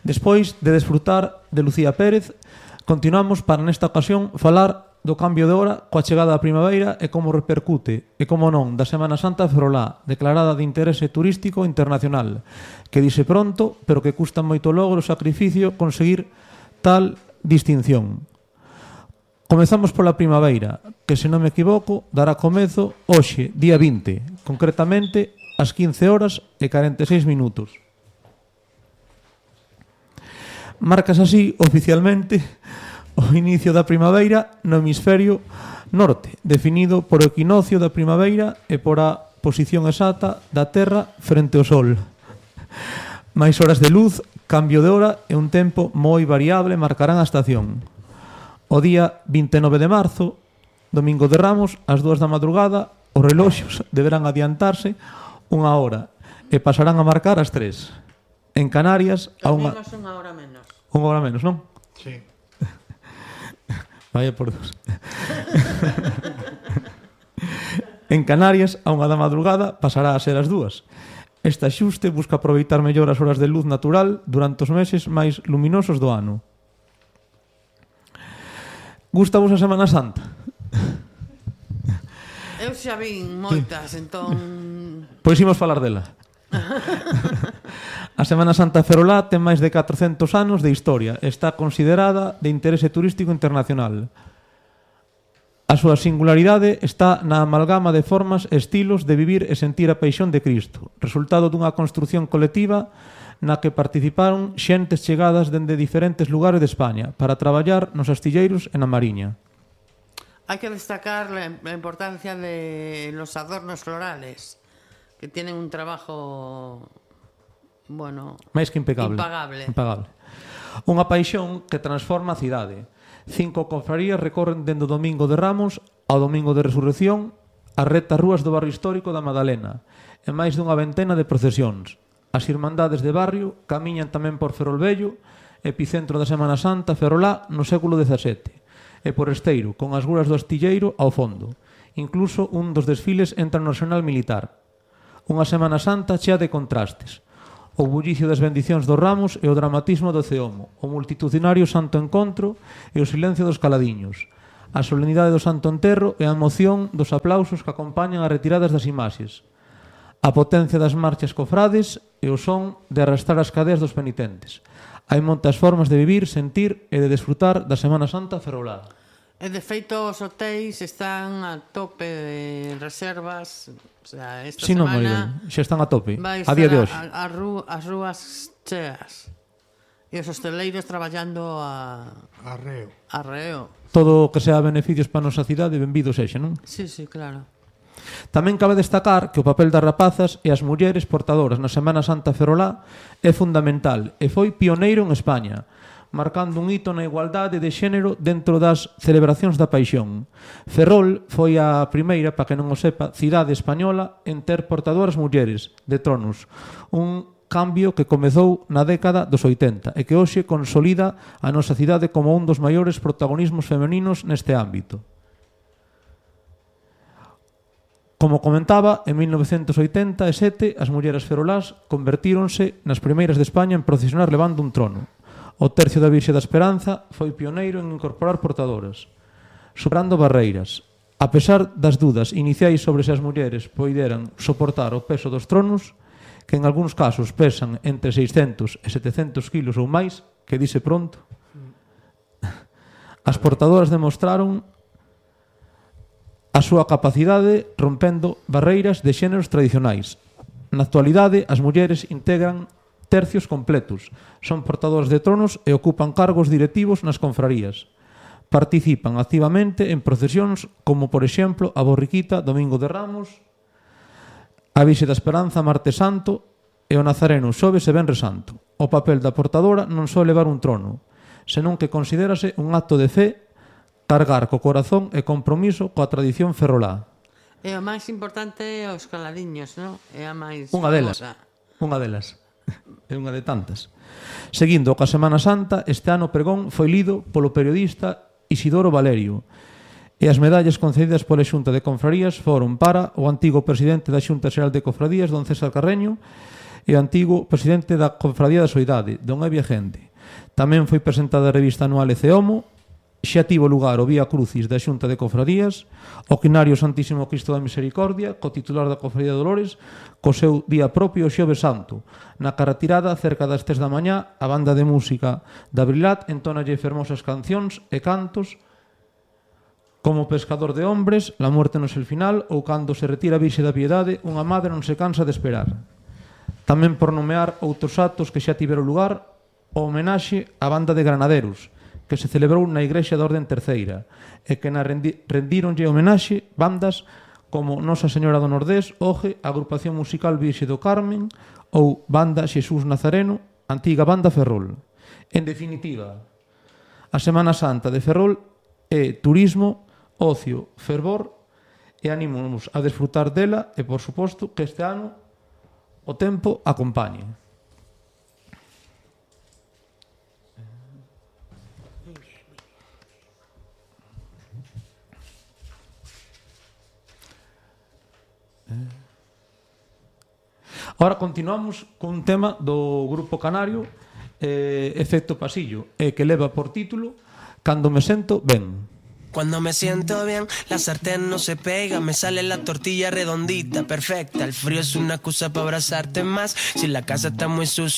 Despois de desfrutar de Lucía Pérez, continuamos para nesta ocasión falar do cambio de hora coa chegada da primavera e como repercute, e como non, da Semana Santa Ferrolá, declarada de interese turístico internacional, que dice pronto, pero que custa moito logro e sacrificio conseguir tal distinción. Comezamos pola primavera, que, se non me equivoco, dará comezo hoxe, día 20, concretamente ás 15 horas e 46 minutos. Marcas así, oficialmente, o inicio da primavera no hemisferio norte, definido por o equinoccio da primavera e por a posición exacta da Terra frente ao Sol. Máis horas de luz, cambio de hora e un tempo moi variable marcarán a estación. O día 29 de marzo, domingo de Ramos, ás 2 da madrugada, os reloxos deberán adiantarse unha hora e pasarán a marcar as 3. En Canarias, a unha hora menos. Unha hora menos, non? Sí. Vaya por Dios. En Canarias, a unha da madrugada, pasará a ser as 2. Este axuste busca aproveitar mellor as horas de luz natural durante os meses máis luminosos do ano. Gústavos a Semana Santa? Eu xa vin moitas, entón... Pois imos falar dela. A Semana Santa Ferrolá ten máis de 400 anos de historia e está considerada de interese turístico internacional. A súa singularidade está na amalgama de formas e estilos de vivir e sentir a paixón de Cristo, resultado dunha construción colectiva na que participaron xentes chegadas dende diferentes lugares de España para traballar nos astilleiros e na mariña. Hai que destacar la importancia de los adornos florales, que tienen un trabajo, bueno, máis que impecable. Impagable. Unha paixón que transforma a cidade. 5 confrarías recorren dende o Domingo de Ramos ao Domingo de Resurrección as rectas rúas do barrio histórico da Madalena e máis dunha ventena de procesións. As irmandades de barrio camiñan tamén por Ferrolvello, epicentro da Semana Santa Ferrolá no século XVII, e por Esteiro, con as guras do astilleiro ao fondo. Incluso un dos desfiles entra no Arsenal Militar. Unha Semana Santa chea de contrastes. O bullicio das bendicións dos ramos e o dramatismo do ceomo, o multitudinario santo encontro e o silencio dos caladiños, a solemnidade do santo enterro e a emoción dos aplausos que acompañan as retiradas das imaxes, a potencia das marchas cofrades e o son de arrastrar as cadeas dos penitentes. Hai moitas formas de vivir, sentir e de desfrutar da Semana Santa ferrolá. E de feito, os hotéis están a tope de reservas. O sea, esta Si, semana xa están a tope, a día de hoxe. As rúas cheas. E os hosteleiros traballando arreo. Todo o que sea beneficios para a nosa cidade, benvido sexa, non? Sí, claro. Tamén cabe destacar que o papel das rapazas e as mulleres portadoras na Semana Santa ferrolá é fundamental e foi pioneiro en España, marcando un hito na igualdade de xénero dentro das celebracións da paixón. Ferrol foi a primeira, para que non o sepa, cidade española en ter portadoras mulleres de tronos, un cambio que comezou na década dos 80 e que hoxe consolida a nosa cidade como un dos maiores protagonismos femeninos neste ámbito. Como comentaba, en 1987 as mulleres ferrolás convertíronse nas primeiras de España en procesionar levando un trono. O Tercio da Virxe da Esperanza foi pioneiro en incorporar portadoras, superando barreiras. A pesar das dudas iniciais sobre se as mulleres poideran soportar o peso dos tronos, que en algúns casos pesan entre 600 e 700 kilos ou máis, que dice pronto, as portadoras demostraron a súa capacidade rompendo barreiras de xéneros tradicionais. Na actualidade, as mulleres integran tercios completos, son portadoras de tronos e ocupan cargos directivos nas confrarías. Participan activamente en procesións como, por exemplo, a Borriquita, Domingo de Ramos, a Virxe da Esperanza, Martes Santo e o Nazareno, Xoves e Venres Santo. O papel da portadora non só levar un trono, senón que considérase un acto de fe, cargar co corazón e compromiso coa tradición ferrolá. E o máis importante é os caladiños, non? É a máis Unha delas. É unha de tantas. Seguindo coa Semana Santa, este ano o pregón foi lido polo periodista Isidoro Valerio e as medallas concedidas pola Xunta de Confrarías foron para o antigo presidente da Xunta Xeral de Cofradías, don César Carreño, e antigo presidente da Cofradía da Soidade, don Evia Gente. Tamén foi presentada a revista anual Eceomo, xa tivo lugar o Vía Crucis da Xunta de Cofradías, o Quinario Santísimo Cristo da Misericordia, co titular da Cofradía de Dolores, co seu día propio o Xoves Santo. Na carretirada, cerca das 3 da mañá, a banda de música da Brilat entónalle fermosas cancións e cantos como Pescador de Hombres, La muerte non é el final, ou Cando se retira a Virxe da Piedade, unha madre non se cansa de esperar. Tamén por nomear outros actos que xa tiveron lugar, o homenaxe á banda de granaderos, que se celebrou na Igrexa da Orden Terceira, e que na rendíronlle homenaxe bandas como Nosa Señora do Nordés, OGE, Agrupación Musical Virxe do Carmen ou Banda Xesús Nazareno, antiga banda Ferrol. En definitiva, a Semana Santa de Ferrol é turismo, ocio, fervor, e animamos a desfrutar dela e, por suposto, que este ano o tempo acompañe. Ahora continuamos cun tema do Grupo Canario, Efecto Pasillo, que leva por título Cando me sento ben. Cuando me siento bien, la sartén no se pega, me sale la tortilla redondita, perfecta. El frío es una excusa para abrazarte más. Si la casa está muy sucia